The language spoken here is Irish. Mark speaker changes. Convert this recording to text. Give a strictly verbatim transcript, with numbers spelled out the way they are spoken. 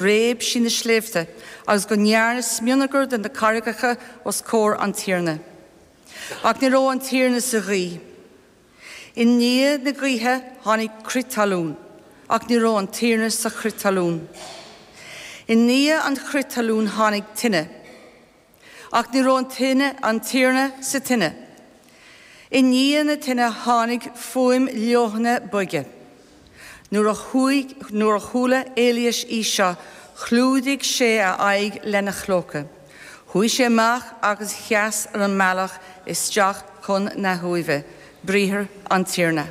Speaker 1: Réab sí na sléibhte agus go ndearnadh smionagar de na carraigeacha os comhair an Tiarna. Ach ní raibh an Tiarna sa ghaoth. I ndiaidh na gaoithe tháinig crith talún, ach ní raibh an Tiarna sa chrith talún. I ndiaidh an chrith talún tháinig tine, ach ní raibh an tine an Tiarna sa tine. I ndiaidh na tine tháinig fuaim leoithne boige. Nuair a chuaigh nuair a chuala Éilias í seo, chlúdaigh sé a aghaidh lena chlóca. Chuaigh sé amach agus sheas ar an mbealach isteach chun na huaimhe, briathar an Tiarna.